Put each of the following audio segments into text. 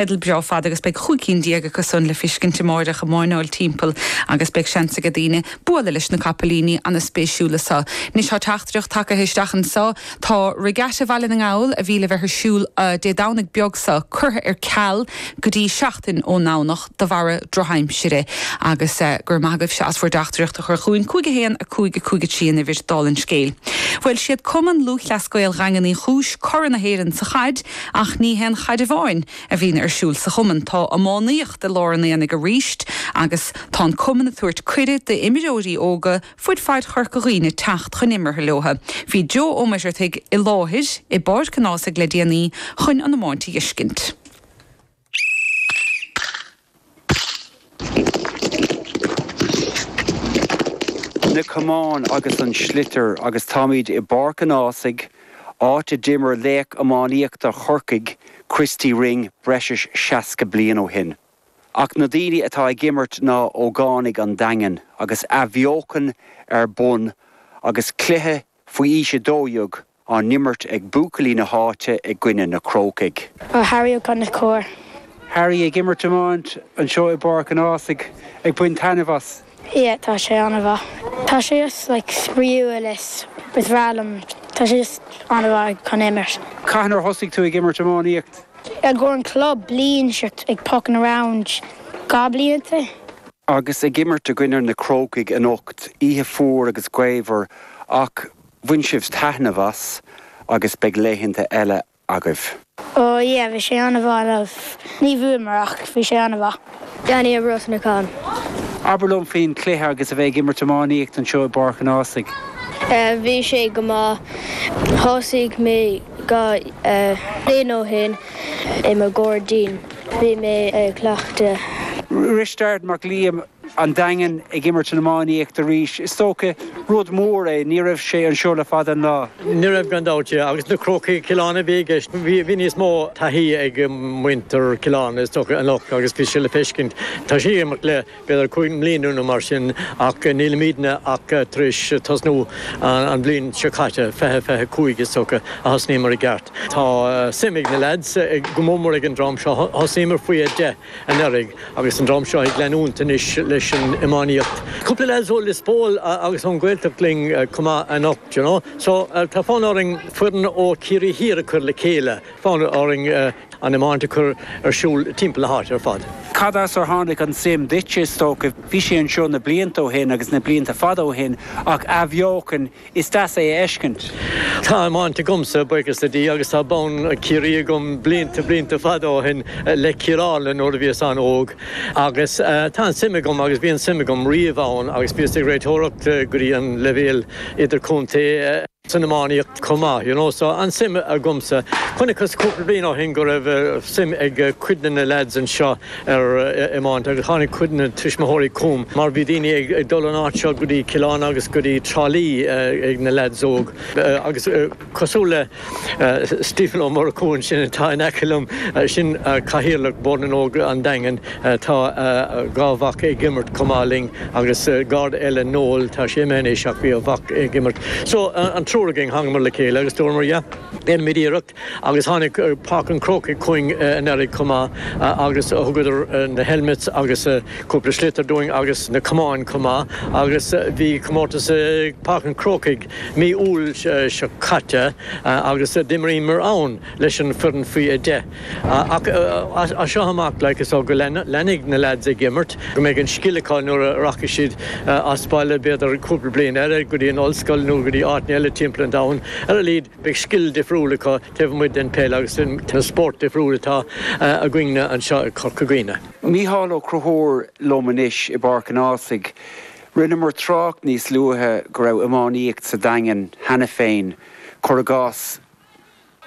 Teideal breá fada agus beidh 15 cinn acu san le feiscint amáireach ag máinneáil timpeall agus beidh seans aige daoine bualadh leis na capaillíní ana-spéisiúla so. Anois tá teachtaireacht tagaithe isteach anso. Tá Regatta Bhaile na nGall a bhí le bheith ar siúl Dé Domhnaigh beag so curtha ar ceal go dtí seachtain ón nDomhnach de bharra drochaimsire agus go raibh maith agaibhse as bhur dteachtaireacht a chur chugainn. 5 1 5 5 3 an uimhir dála an scéil. Bhuel siad Cumann Lúthchleas Gael Dhaingean Uí Chúis curaidh na hÉireann sa chaid Ach ní haon chaid amháin a bhíonn ar siúl sa chumann. Tá iománaíocht i lár an aonaigh arís agus tá an cumann ag tabhairt cuireadh d'imreoirí óga fud fad Chorca Dhuibhne teacht chun imeartha leo. Bhí Joe Ó Muircheartaigh i láthair i bPáirc an Ághasaigh le déanaí chun an iomáint a dh'fheiscint. Na camáin agus an sliotar agus táimid i bPáirc an Ághasaigh, áit a d'imir laoch iománaíochta Chorcaigh, Christy Ring, breis is 60 bliain ó shin. Ach na daoine atá ag imirt ná ógánaigh an Daingin agus athbheochan ar bun agus cluiche faoi aois 12 á n-imirt ag buachaillí na háite i gcoinne na Crócaigh. Harry Ó Conchúir. Harry ag imirt iomáint anseo i bPáirc an Ághasaigh, ag baint taitneamh as. Yeah, tá sé an-mhaith. Tá sé just like spraíúil is is breá liom. Tá sé just an-mhaith chun imirt. Cathain ar thosaigh tú ag imirt iománaíocht? I gcomhair an club, bliain seo ag poking around 2 blianta. Agus ag imirt i gcoinne na Crócaigh anocht, oíche fuar agus gaofar ach Bhain sibh taitneamh as agus beidh laethanta eile agaibh. Oh yeah, bhí sé an-mhaith. Ní bhuamar ach bhí sé an-mhaith. Danny Ó Brosnacháin. Abair liom faoin chluiche agus a bheith ag imirt iománaíocht anseo i bPáirc an Ághasaigh. Bhí sé go maith. Thosaigh mé 2 bliain ó shin i mo ghairdín. Bhí mé ag cleachtadh. Risteard Mac Liam. An Daingean ag imirt an iománaíocht arís. Is dócha, rud mór é, ní raibh sé anseo le fada an lá. Ní raibh gan dabht, yeah. Agus na Crócaigh, Cill Airne a bhí i gceist. Bhí níos mó taithí ag muintir Cill Airne is dócha anocht agus bhí sé le feiscint. Tá siad ag imirt le b'fhéidir 5 mbliana nó mar sin ach nílimidne ach tar éis tosnú an bhliain seo caite, 20 25 is dócha, a thosnaíomar i gceart. Tá suim ag na leaids go mór mór ag an dream seo. Thosnaíomar faoi 10. anuraidh agus an dream seo ag leanúint anois leis an iománaíocht. Cúpla leaids ó Lios Póil agus ón Ghaeltacht linn chomh maith anocht, you know. So tá fonn orainn foireann ó Ciarraí Thiar a chur le chéile, fonn orainn an iomáint a chur ar siúl timpeall na háite ar fad. Cad as ar tháinig an suim duitse, is dócha? Bhí sé anseo na blianta ó shin agus na blianta fada ó shin ach athbheochan Is deas é a fheiscint. Tá iomáint agamsa, buíochas le Dia, agus tá bonn Ciarraí agam blianta, blianta fada ó shin le Cill Airne nuair a bhíos an-óg. Agus tá an suim agam agus bhí an suim agam riamh ann agus bhíos ag réiteoireacht go dtí an leibhéal idirchontae san iománaíocht chomh maith, you know. So an suim agamsa. Chonaiceas cúpla bliain ó shin go raibh suim ag cuid de na leaids anseo ar iomáint agus tháinig cuid de na tuismitheoirí chugam mar bhí daoine ag dul ón áit seo go dtí Cill Airne agus go dtí Trá Lí ag na leaids óg agus cosúil le Stephen Ó Murchú ansin atá in aice liom, sin cathaoirleach Bord na nÓg an Daingin, tá a dhá mhac ag imirt chomh maith linn agus garda eile Noel, tá sé imithe anois ach bhí a mhac ag imirt. So an triúr againn thángamar le chéile agus dúramar yeah, déanfaimid iarracht. Agus tháinig Páirc an Chrócaigh chugainn anuraidh chomh maith agus thugadar na helmets agus cúpla sliotar dúinn agus na camáin chomh maith agus bhí comórtas i Páirc an Chrócaigh mí Iúil seo caite agus d'imríomar ann leis an foireann faoi 10. Ach as seo amach like is go leanfaidh na lads ag imirt, go mbeidh an scil acu nuair a rachaidh siad as baile b'fhéidir cúpla bliain eile go dtí an ollscoil nó go dtí áiteanna eile timpeall an domhain ar a laghad. Beidh scil difriúil acu taobh amuigh den peil agus den spórt difriúil atá againne anseo i Corca Dhuibhne. Mícheál Ó Conchúir liom anois i bPáirc an Ághasaigh. Rinneamar trácht níos luaithe go raibh iománaíocht sa Daingean cheana féin, cuir i gcás,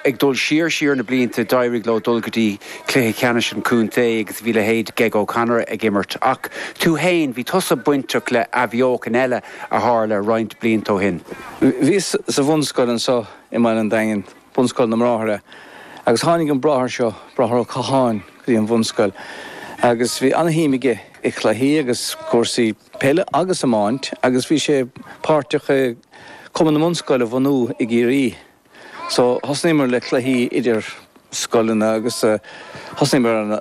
ag dul siar siar na blianta d'éirigh leo dul go dtí cluiche ceannais an chontae agus bhí leithéid Geg O'Connor ag imirt. Ach tú féin, bhí tusa bainteach le athbheochan eile a tharla roinnt blianta ó shin. Bhíos sa bhunscoil anso i mBaile an Daingin, Bunscoil na mBráithre, agus tháinig an bráthair seo, Bráthair Ó Catháin, go dtí an bhunscoil agus bhí ana-shuim aige i chluichí agus cúrsaí peile agus iomáint agus bhí sé páirteach i Cumann na mBunscoil a bhunú i gCiarraí. So thosnaíomar le cluichí idir. scoileanna agus thosnaíomar ar an.